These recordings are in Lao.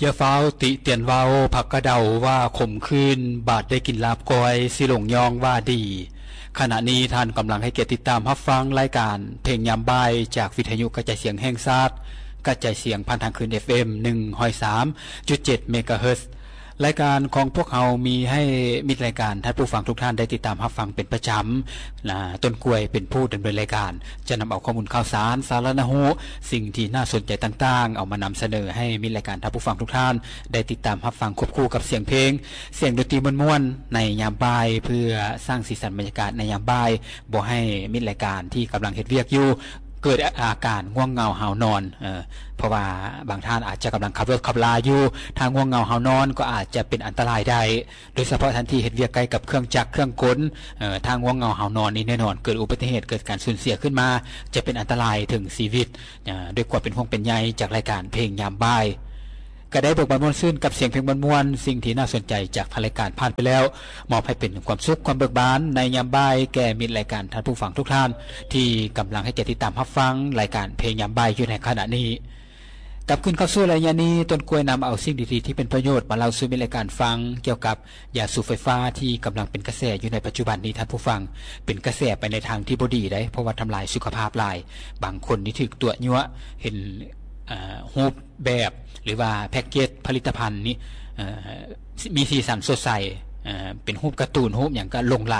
ຢ່າຟ້าวຕິຕຽນເວົ້າ ຜັກກະເດົາວ່າຂົມຂືນ ບາດໄດ້ກິນລາບກ້ອຍ ຊິຫຼົງຍ້ອງວ່າດີ. ຂະນະນີ້ທ່ານກຳລັງໃຫ້ກຽດຕິດຕາມຮັບຟັງລາຍການເພງຍາມບ່າຍ ຈາກວິທະຍຸກະຈາຍສຽງແຫ່ງຊາດ, ກະຈາຍສຽງຜ່ານທາງຄື້ນ ເອັຟເອັມ ໜຶ່ງຮ້ອຍສາມຈຸດເຈັດ ເມກາເຮີດ. ລາຍການຂອງພວກເຮົາມີໃຫ້ມິດລາຍການທ່ານຜູ້ຟັງທຸກທ່ານໄດ້ຕິດຕາມຮັບຟັງເປັນປະຈຳ. ນະ ຕົ້ນກ້ວຍເປັນຜູ້ດຳເນີນລາຍການ ຈະນຳເອົາຂໍ້ມູນຂ່າວສານ, ສາລະນະຮູ້, ສິ່ງທີ່ໜ້າສົນໃຈຕ່າງໆ ເອົາມານຳສະເໜີໃຫ້ມິດລາຍການທ່ານຜູ້ຟັງທຸກທ່ານໄດ້ຕິດຕາມຮັບຟັງ ຄວບຄູ່ກັບສຽງເພງ, ສຽງດົນຕີມ່ວນໆ ໃນຍາມບ່າຍ ເພື່ອສ້າງສີສັນບັນຍາກາດໃນຍາມບ່າຍ, ບໍ່ໃຫ້ມິດລາຍການທີ່ກຳລັງເຮັດວຽກຢູ່ ເກີດອາການງ່ວງເຫງົາຫາວນອນ, ເອີ ເພາະວ່າບາງທ່ານອາດຈະກຳລັງຂັບລົດຂັບລາຢູ່, ຖ້າງ່ວງເຫງົາຫາວນອນກໍອາດຈະເປັນອັນຕະລາຍໄດ້, ໂດຍສະເພາະທ່ານທີ່ເຮັດວຽກໃກ້ກັບເຄື່ອງຈັກເຄື່ອງກົນ, ເອີ ຖ້າງ່ວງເຫງົາຫາວນອນນີ້ແນ່ນອນ ເກີດອຸບັດຕິເຫດ ເກີດການສູນເສຍຂຶ້ນມາ ຈະເປັນອັນຕະລາຍເຖິງຊີວິດ. ອາ ດ້ວຍຄວາມເປັນຫ່ວງເປັນໃຍຈາກລາຍການເພງຍາມບ່າຍ ກະໄດ້ເບີກບານມ່ວນຊື່ນກັບສຽງເພງມ່ວນໆ, ສິ່ງທີ່ໜ້າສົນໃຈຈາກທາງລາຍການຜ່ານໄປແລ້ວ ມອບໃຫ້ເປັນຄວາມສຸກຄວາມເບີກບານໃນຍາມບ່າຍແກ່ມິດລາຍການທ່ານຜູ້ຟັງທຸກທ່ານ ທີ່ກຳລັງໃຫ້ກຽດຕິດຕາມຮັບຟັງລາຍການເພງຍາມບ່າຍຢູ່ໃນຂະນະນີ້. ກັບຄືນເຂົ້າສູ່ໄລຍະນີ້, ຕົ້ນກ້ວຍນຳເອົາສິ່ງດີໆທີ່ເປັນປະໂຫຍດມາເລົ່າສູ່ມິດລາຍການຟັງ ກ່ຽວກັບ ຢາສູບໄຟຟ້າທີ່ກຳລັງເປັນກະແສຢູ່ໃນປັດຈຸບັນນີ້ທ່ານຜູ້ຟັງ, ເປັນກະແສໄປໃນທາງທີ່ບໍ່ດີເດ້, ເພາະວ່າທຳລາຍສຸຂະພາບຫຼາຍ. ບາງຄົນນີ້ຖືກຕົວະຍົວະ, ເຫັນ ເອີ ຮູບແບບ ຫຼືວ່າແພັກເກດຜະລິດຕະພັນນີ້ ເອີ ມີສີສັນສົດໃສ, ເອີ ເປັນຮູບກາຕູນ, ຮູບຫຍັງກໍຫຼົງໄຫຼ,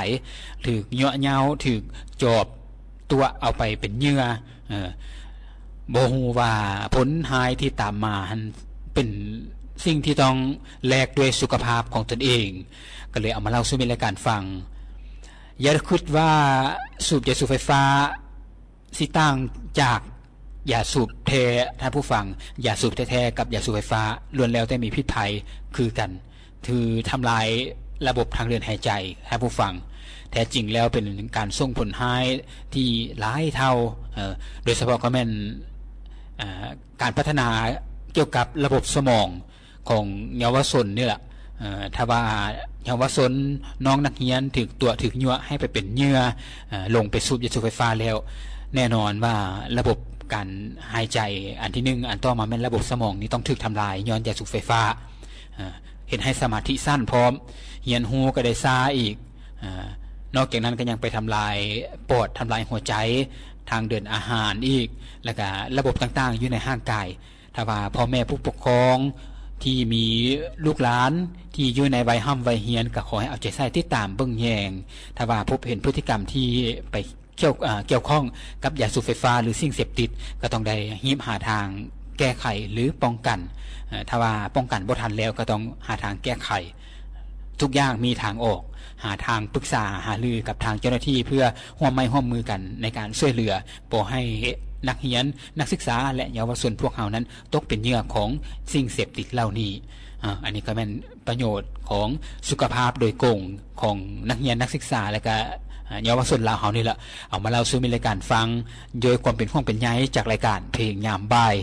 ຖືກຍົວະເຍົາ, ຖືກຈອບຕົວະເອົາໄປເປັນເຫຍື່ອ, ເອີ ບໍ່ຮູ້ວ່າຜົນຮ້າຍທີ່ຕາມມາຫັ້ນເປັນສິ່ງທີ່ຕ້ອງແລກດ້ວຍສຸຂະພາບຂອງຕົນເອງ, ກໍເລີຍເອົາມາເລົ່າສູ່ມິດລາຍການຟັງ. ຢ່າຄິດວ່າສູບຢາສູບໄຟຟ້າຊິຕ່າງຈາກຢາສູບແທ້, ທ່ານຜູ້ຟັງ, ຢາສູບແທ້ໆກັບຢາສູບໄຟຟ້າລ້ວນແລ້ວແຕ່ມີພິດໄພຄືກັນ. ຖືທຳລາຍລະບົບທາງເດີນຫາຍໃຈ, ທ່ານຜູ້ຟັງ, ແທ້ຈິງແລ້ວເປັນການສົ່ງຜົນຮ້າຍທີ່ຫຼາຍເທົ່າ, ເອີ ໂດຍສະເພາະກໍແມ່ນ ເອີ ການພັດທະນາກ່ຽວກັບລະບົບສະໝອງຂອງເຍົາວະຊົນນີ້ລະ. ເອີ ຖ້າວ່າເຍົາວະຊົນ, ນ້ອງນັກຮຽນຖືກຕົວະ, ຖືກຍົວະໃຫ້ໄປເປັນເຫຍື່ອ, ເອີ ລົງໄປສູບຢາສູບໄຟຟ້າແລ້ວ, ແນ່ນອນວ່າລະບົບການຫາຍໃຈອັນທີໜຶ່ງ, ອັນຕໍ່ມາແມ່ນລະບົບສະໝອງນີ້ຕ້ອງຖືກທຳລາຍຍ້ອນຢາສູບໄຟຟ້າ. ເອີ ເຮັດໃຫ້ສະມາທິສັ້ນພ້ອມ, ຮຽນຮູ້ກໍໄດ້ຊ້າອີກ. ເອີ ນອກຈາກນັ້ນກໍຍັງໄປທຳລາຍປອດ, ທຳລາຍຫົວໃຈ, ທາງເດີນອາຫານອີກ, ແລ້ວກະລະບົບຕ່າງໆຢູ່ໃນຮ່າງກາຍ. ຖ້າວ່າພໍ່ແມ່ຜູ້ປົກຄອງທີ່ມີລູກຫຼານທີ່ຢູ່ໃນໄວຮ່ຳໄວຮຽນ ກໍຂໍໃຫ້ເອົາໃຈໃສ່ຕິດຕາມເບິ່ງແຍງ. ຖ້າວ່າພົບເຫັນພຶດຕິກຳທີ່ໄປ ກ່ຽວ ເອີ ກ່ຽວຂ້ອງກັບຢາສູບໄຟຟ້າ ຫຼື ສິ່ງເສບຕິດ ກໍຕ້ອງໄດ້ຮີບຫາທາງແກ້ໄຂ ຫຼື ປ້ອງກັນ. ເອີ ຖ້າວ່າປ້ອງກັນບໍ່ທັນແລ້ວ ກໍຕ້ອງຫາທາງແກ້ໄຂ. ທຸກຢ່າງມີທາງອອກ, ຫາທາງປຶກສາຫາລືກັບທາງເຈົ້າໜ້າທີ່ ເພື່ອຮ່ວມໄມ້ຮ່ວມມືກັນໃນການຊ່ວຍເຫຼືອ ບໍ່ໃຫ້ນັກຮຽນ, ນັກສຶກສາ ແລະ ເຍົາວະຊົນພວກເຮົານັ້ນຕົກເປັນເຫຍື່ອຂອງສິ່ງເສບຕິດເຫຼົ່ານີ້. ອາ ອັນນີ້ກໍແມ່ນ ປະໂຫຍດຂອງສຸຂະພາບໂດຍກົງຂອງນັກຮຽນນັກສຶກສາ ແລະກະເຍົາວະຊົນລາວເຮົານີ້ລະ ເອົາມາເລົ່າສູ່ມິດລາຍການຟັງ ດ້ວຍຄວາມເປັນຫ່ວງເປັນໃຍຈາກລາຍການເພງຍາມບ່າຍ.